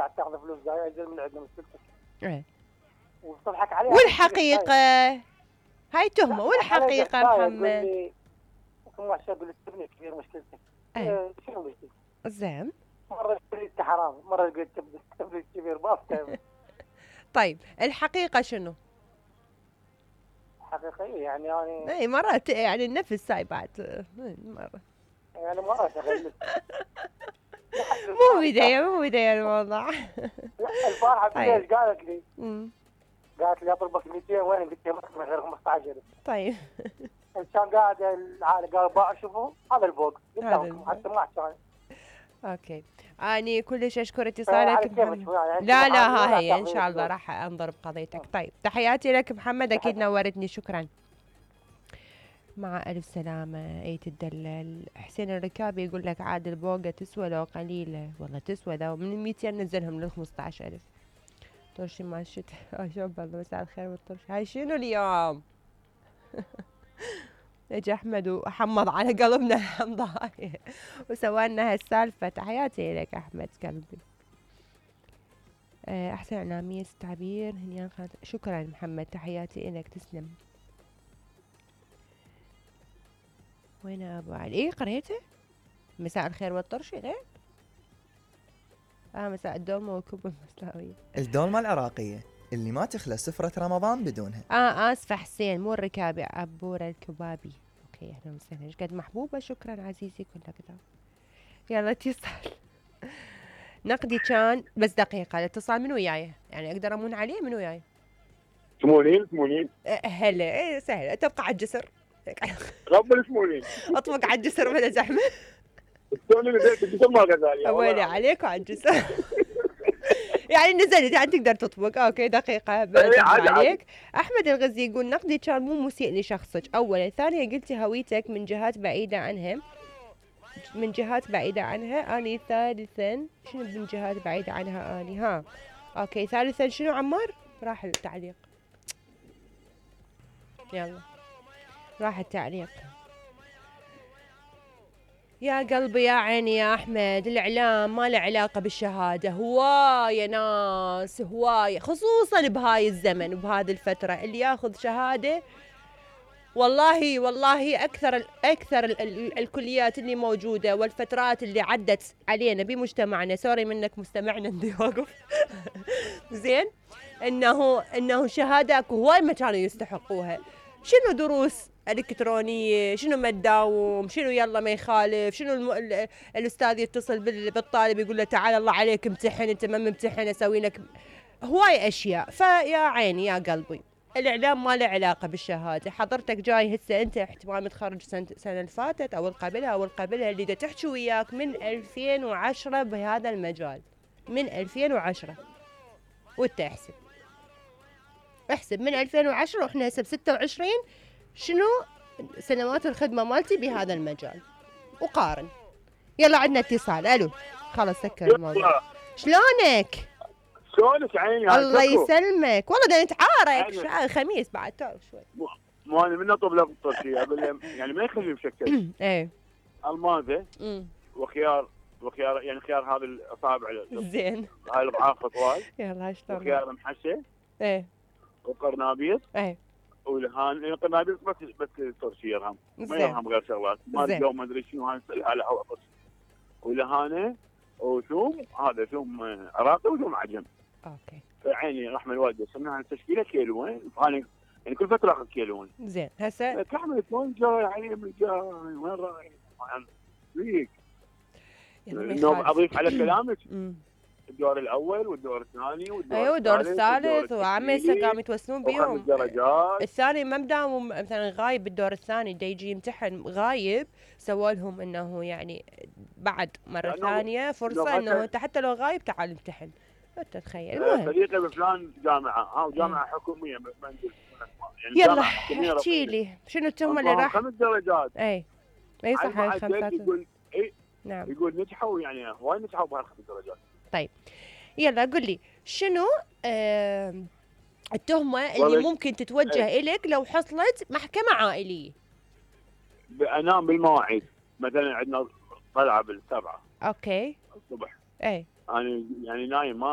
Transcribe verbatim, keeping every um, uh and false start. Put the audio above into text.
قاعد تاخذ فلوس جاي اجل من عندنا مشكلتك. ايه وتضحك عليها. والحقيقة هاي تهمة، والحقيقة محمد كم واحد يقول التبني كبير مشكلتك. ايه شنو مشكلتك؟ زين. مرة قلت حرام، مرة قلت التبني كبير ما افتهم. طيب الحقيقة شنو؟ حقيقية يعني يعني اي مرات يعني النفس هاي بعد مرة يعني مرات اغلس. مو بداية مو بداية الموضوع. البارحة بالليل قالت لي امم قالت لي اطلبك مئتين وين؟ قلت لها من غير خمسة عشر. طيب كان قاعد العالي قال باع شوفوا هذا الفوق قلت لهم حتى ما كان. اوكي اني كلش اشكر اتصالك محمد. يعني لا لا ها هي ان شاء الله راح انظر بقضيتك. طيب تحياتي لك محمد، اكيد نورتني، شكرا. مع ألف سلامة. أيت الدلل. حسين الركابي يقول لك عاد البوقة تسوى لو قليلة، والله تسوى ذا من الميتين نزلهم للخمسة عشر ألف. طرشي ما الشتاء. آه شوف الله مساء الخير والطرش. هاي شنو اليوم؟ اجى أحمد وحمض على قلبنا الحمضاية وسوالنا هالسالفة. تحياتي لك أحمد قلبي. أحسن إعلامية تعبير هنيان خالد. شكرا محمد، تحياتي لك، تسلم. وين ابو علي؟ ايه قريته؟ مساء الخير والطرش غير؟ اه مساء الدولمة والكوب المسلاوية. الدولمة العراقية اللي ما تخلى سفرة رمضان بدونها. اه اسفة حسين، مو الركابي، عبورة الكبابي. اوكي اهلا وسهلا. ايش قد محبوبة. شكرا عزيزي كلك كذا. يلا اتصال. نقدي كان بس دقيقة. الاتصال من وياي يعني اقدر امون عليه؟ من وياي؟ سمونين سمونين. أه هلا. ايه سهلة. تبقى على الجسر. رب السمونين. اطبق على الجسر بلا زحمة. السوني نزلت الجسر ما غزالي. ويلي عليك وعلى الجسر. يعني نزلت يعني تقدر تطبق. اوكي دقيقة برد عليك. احمد الغزي يقول نقدي كان مو مسيء لشخصك اولا، ثانيا قلتي هويتك من جهات بعيدة عنها من جهات بعيدة عنها اني، ثالثا شنو من جهات بعيدة عنها اني؟ ها اوكي ثالثا شنو عمار؟ راح التعليق. يلا راح التعليق. يا قلبي يا عيني يا أحمد، الإعلام ما له علاقة بالشهادة. هواية ناس هواية خصوصا بهاي الزمن وبهذه الفترة اللي ياخذ شهادة. والله والله أكثر أكثر ال ال الكليات اللي موجودة والفترات اللي عدت علينا بمجتمعنا، سوري منك مستمعنا ندي واقف. زين إنه إنه شهادة هواي ما كانوا يستحقوها. شنو دروس الكترونيه، شنو ما تداوم، شنو يلا ما يخالف، شنو الم... الاستاذ يتصل بالطالب يقول له تعال الله عليك امتحن، انت ما ممتحن اسوي لك هواي اشياء. فيا عيني يا قلبي الاعلام ما له علاقه بالشهاده. حضرتك جاي هسه انت احتمال متخرج سنه السنه اللي فاتت او القبلها او القبلها اللي دا تحكي وياك من ألفين وعشرة بهذا المجال، من ألفين وعشرة وانت احسب احسب من ألفين وعشرة واحنا هسه بستة وعشرين، شنو سنوات الخدمة مالتي بهذا المجال وقارن. يلا عندنا اتصال. الو خلاص سكر الموضوع. شلونك؟ شلونك عيني؟ الله يسلمك. والله دا نتعارك شا... خميس بعد تعرف شوي. مو انا من اطلب لك الطرشيه يعني ما يخلي مشكل. ايه المازه وخيار وخيار يعني خيار هذا الاصابع زين هاي الضعاف طوال. يلا شلون؟ وخيار محشي. ايه وقرنابيط. ايه والهان القرنابيط بس بس ترشيه هم ما يرهم غير شغلات ما اليوم ما ادري شنو هاي على هوا بس. والهانه وثوم هذا ثوم عراقي وثوم عجم. اوكي عيني رحمه الوالده سمناها التشكيله كيلوين فانا يعني كل فتره اخذ كيلوين. زين هسه كحمل وين جاي علي من جاي وين رايح فيك انه اضيف على كلامك الدور الاول والدور الثاني والدور ايوه الدور الثالث وعم هسه قاموا يتوسلون بيهم. درجات الثاني ما مداوم مثلا غايب بالدور الثاني دا يجي يمتحن غايب، سووا لهم انه يعني بعد مره ثانيه فرصه انه انت حتى لو غايب تعال امتحن. انت تخيل. المهم صديقي بفلان جامعه ها وجامعه حكوميه منزل يعني يلا احكي لي شنو التهمه اللي راح خمس درجات. اي اي صح هاي الخمسات يقول اي نعم يقول نجحوا يعني هواي نجحوا بهالخمس درجات. طيب يلا قل لي شنو آه التهمة اللي ممكن تتوجه ايه؟ إليك لو حصلت محكمة عائلية؟ انام بالمواعيد مثلا عندنا طلعة بالسبعة اوكي الصبح اي انا يعني نايم ما